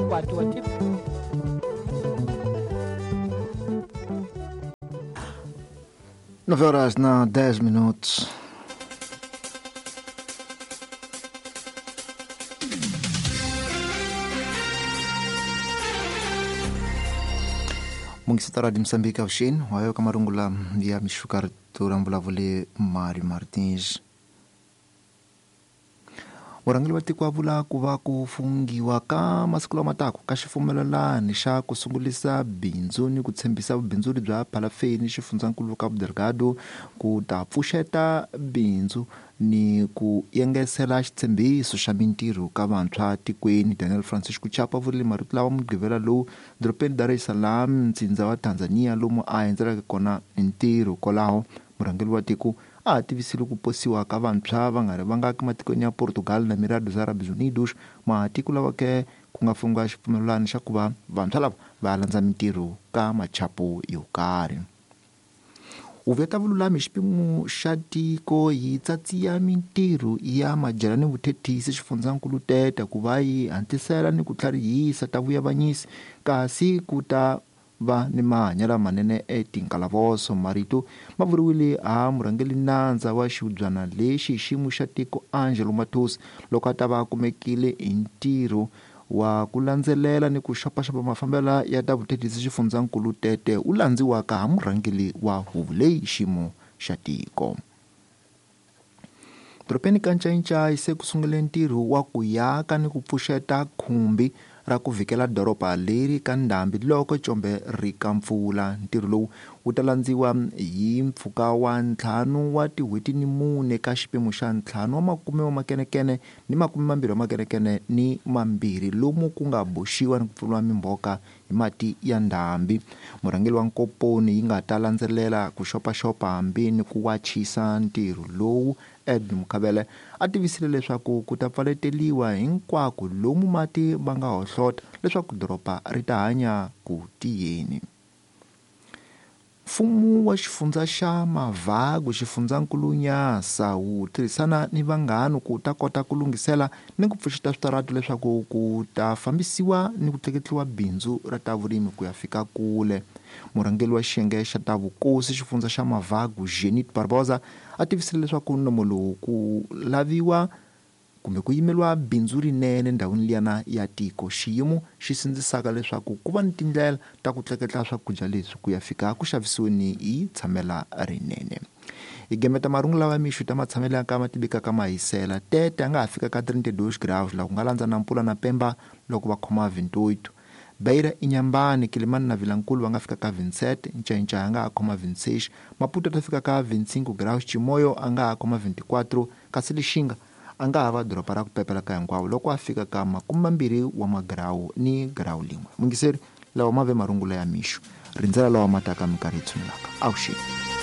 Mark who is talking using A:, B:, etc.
A: Makwati wa tip.
B: 9 horas na 10 minutos. Mungisitara di Moçambique avuxeni wayo ka marungula ya mixuka rito ra mvulavuli Mari Martins. Murhangeri wa tiko a vula ku va ku fungiwa ka masiku lama taka ka xipfumelelani xa ku sungulisa bindzu ni ku tshembisa vubindzuri bya phalafeni xifundzankulu Cabo Delgado ku ta pfuxeta bindzu ni ku yengesela xitshembiso xa mintirho ka vantshwa tikweni. Daniel Francisco Chapa vurile marito lawa Mugqivela lowu dorobeni Dar es Salaam, ntsindza wa Tanzania, lomu a endzelaka kona ntirho. Kwalaho murhangeri wa tiko a tivisile ku posiwa ka vantshwa va nga ri vangaki matikweni ya Portugal na Emirados Árabes Unidos, matiko lawa ke ku nga fungiwa xipfumelelano xa ku va vantshwa lava va landza mintirho ka machapo yo karhi. Huvo ya ta vululami hi xipimo xa tiko yi tsatsiya mintirho ya madyela ni vuthethisi xifundzankulu Tete ku va yi hatlisela ni ku tlharihisa ta vuyavanyisi, kasi ku ta va ni mahanyelo lamanene etinkalavoso. Marito ma vuriwile ha murhangeri nandza wa xihubyana lexi hi xiyimo xa tiko Angelo Matos loko a ta va a kumekile hi ntirho wa ku landzelela ni ku xopaxopa mafambelo ya ta vuthethisi xifundzankulu Tete u landziwaka ha murhangeri wa huvo leyi xiyimo xa tiko. Dorobeni ka Ncayincai se ku sungule ntirho wa ku yaka ni ku pfuxeta khumbi ra ku vhikela doroba leri ka ndhambi loko combe ri ka mpfula. Ntirho lowu wu ta landziwa hi mpfhuka wa 5 wa tin'hweti ni 4 ka xipimo xa 5 wa makume wa makenekene ni makume mambirhi wa makenekene ni mambirhi lomu ku nga boxiwa ni ku pfuriwa mimbhoka hi mati ya ndhambi. Murhangeri wa nkomponi yi nga ta landzelela ku xopaxopa hambi ni ku wachisa ntirho lowu, Edwin Mukhabele, a tivisile leswaku ku ta pfaleteliwa hinkwako lomu mati va nga hohlota leswaku doroba ri ta hanya ku tiyeni. Mfumo wa xifundza xa Mavagu xifundzankulu Nyasa wu tirhisana ni vanghana ku ta kota ku lunghisela ni ku pfuxeta switaratu leswaku ku ta fambisiwa ni ku tleketliwa bindzu ra ta vurimi ku ya fika kule. Murhangeri wa xiyenge xa ta vukosi xifundza xa Mavagu Jenit Barbosa a tivisile leswaku nomo lowu ku laviwa kumbe ku yimeriwa bindzu rinene ndhawini liyana ya tiko, xiyimo xi sindzisaka leswaku ku va ni tindlela ta ku tleketla swakudya leswi ku ya fika ku xavisiweni hi tshamela rinene. Hi gemeta marungu lawa ya mixo ta matshamelo ya ka ma tivekaka mahisela. Tete a nga ha fika ka 32 graus laha ku nga landza na Mpula na Pemba loko va khoma 28. Beira, Inhambane, Quelimane na Vilankulu va nga fika ka 27, Ncayincaya a nga ha khoma 26, Maputo a ta fika ka 25 graus, Chimoio a nga ha khoma 24, kasi Lixinga a nga ha va doroba ra ku pepela ka hinkwavo loko a fika ka 20 wa magirawu ni girawu lin'we. Mungiseri, lawa ma ve marungula ya mixo. Rindzela lawa ma taka minkarhi yi tshunelaka. Avuxeni.